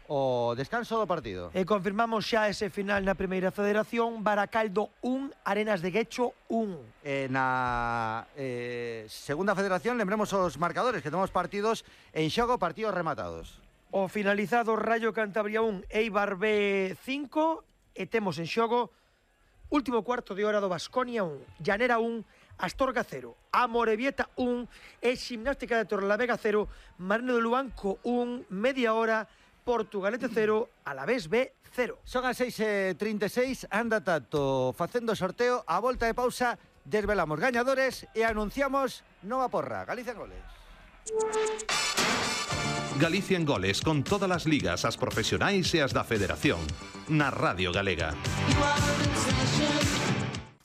o descanso do partido. E confirmamos xa ese final na primeira federación. Baracaldo 1, Arenas de Guecho 1. Na segunda federación, lembremos os marcadores, que temos partidos en xogo, partidos rematados. O finalizado Rayo Cantabria 1, Eibar B 5, e temos en xogo último cuarto de hora do Baskonia 1, Llanera 1, Astorga 0, Amorebieta 1 e Ximnástica de Torrelavega 0, Marino de Luanco 1, media hora, Portugalete 0, Alavés B 0. Son as 6:36, anda tanto facendo sorteo, a volta de pausa desvelamos gañadores e anunciamos nova porra, Galicia en Goles. Galicia en Goles, con todas as ligas, as profesionais e as da Federación, na Radio Galega.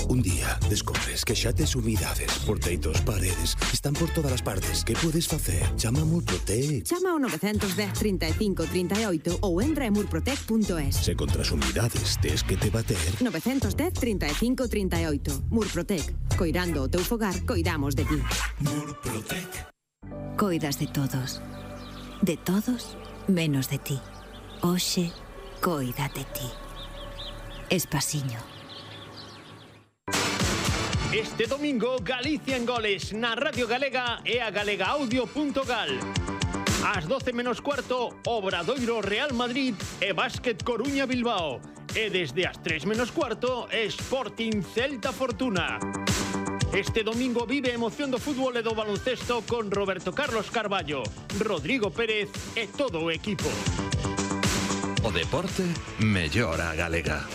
Un día descobres que xa tes umidades, porteitos, paredes, están por todas as partes. Que podes facer? Chama a Murprotec. Chama ao 910 35 38 ou entra en murprotec.es. Se contra as umidades tes que te bater. 910 35 38. Murprotec. Coirando o teu fogar, coidamos de ti. Murprotec. Coidas de todos. De todos, menos de ti. Oxe, coida de ti. Espasiño. Este domingo, Galicia en Goles, na Radio Galega e a galegaaudio.gal. Ás 12 menos cuarto, Obradoiro Real Madrid e Básquet Coruña Bilbao. E desde as 3 menos cuarto, Sporting Celta Fortuna. Este domingo vive a emoción do fútbol e do baloncesto con Roberto Carlos Carballo, Rodrigo Pérez e todo o equipo. O deporte mellora a galega.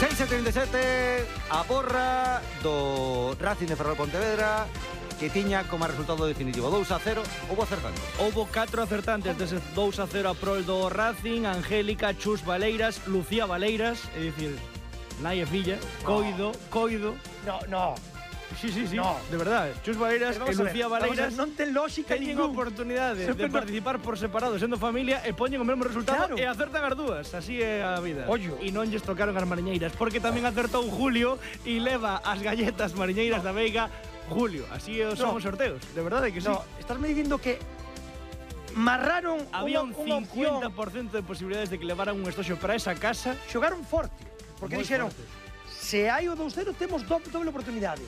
6:37, a porra do Racing de Ferrol Pontevedra, que tiña como resultado definitivo 2-0, houbo acertantes. Houbo 4 acertantes dese 2-0 a prol do Racing: Angélica, Chus Valeiras, Lucía Valeiras, é dicir, nai e filla, coido. No. Sí, no. de verdade. Chus Valeiras e Lucía Valeiras non ten lógica teñen ningún oportunidade de participar por separado sendo familia e poñen o mesmo resultado, claro, e acertan as dúas. Así é a vida. Ollo. E non lles tocaron as mariñeiras, porque tamén acertou Julio e leva as galletas mariñeiras da Veiga Julio. Así son os sorteos. De verdade que sí. No, estás me dicindo que marraron había un unha 50% de posibilidades de que levaran un estoxo para esa casa. Xogaron forte, porque dixeron, se hai o 2-0 temos doble oportunidade.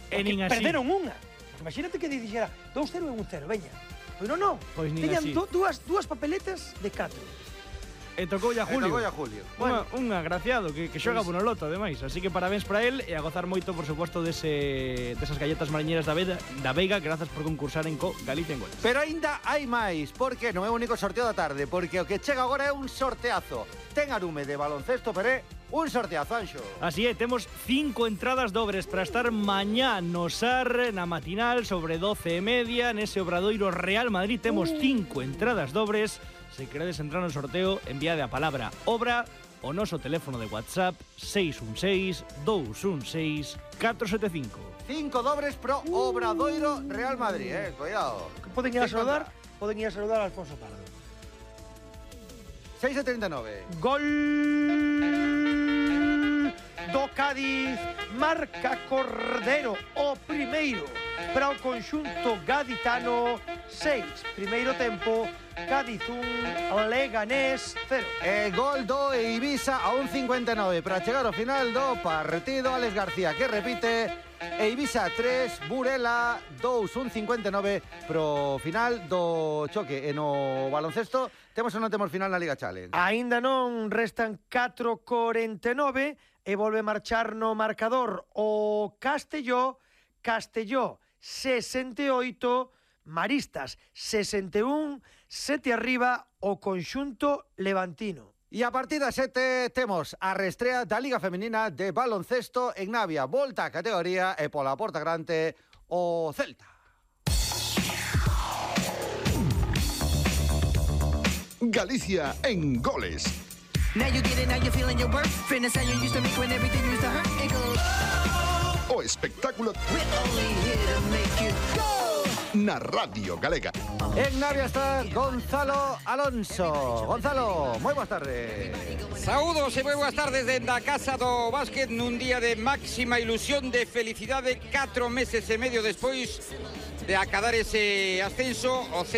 E nin así. Perderon unha. Imagínate que dixera 2-0 e 1-0, veña. Pero non. Pois nin teñan así. dúas papeletas de 4. E tocoulle a Julio. Bueno, un agraciado que xoga por no loto, ademais. Así que parabéns para él e a gozar moito, por suposto, desas galletas mariñeras da Veiga, grazas por concursar en Galicia en Goles. Pero aínda hai máis, porque non é o único sorteo da tarde, porque o que chega agora é un sorteazo. Ten arume de baloncesto, pero é un sorteazo, Anxo. Así é, temos 5 entradas dobres para estar mañá no SAR, na matinal, sobre 12:30, nese Obradoiro Real Madrid. Temos 5 entradas dobres. Se queredes entrar no sorteo, enviade a palabra obra o noso teléfono de WhatsApp 616 216 475. 5 dobres pro Obradoiro Real Madrid, cuidado. Poden ir a saludar a Alfonso Pardo. 6:39. Gol do Cádiz, marca Cordero, o primeiro para o conxunto gaditano. 6, primeiro tempo, Cádiz 1, Leganés 0. Gol do Eivisa a 1:59 para chegar ao final do partido. Alex García que repite. Eivisa 3, Burela 2, 1:59 pro final do choque. E no baloncesto temos ou non temos final na Liga Challenge? Aínda non, restan 4:49 e volve marchar no marcador o Castelló 68, Maristas 61, 7 arriba o conxunto levantino. E a partir das 7 temos a restrea da Liga Femenina de baloncesto en Navia. Volta a categoría e pola porta grande o Celta. Galicia en Goles. O espectáculo na Radio Galega. En Navia está Gonzalo Alonso. Gonzalo, moi boas tardes. Saúdos e moi boas tardes dende a casa do básquet nun día de máxima ilusión, de felicidade, 4 meses e medio despois de acadar ese ascenso. O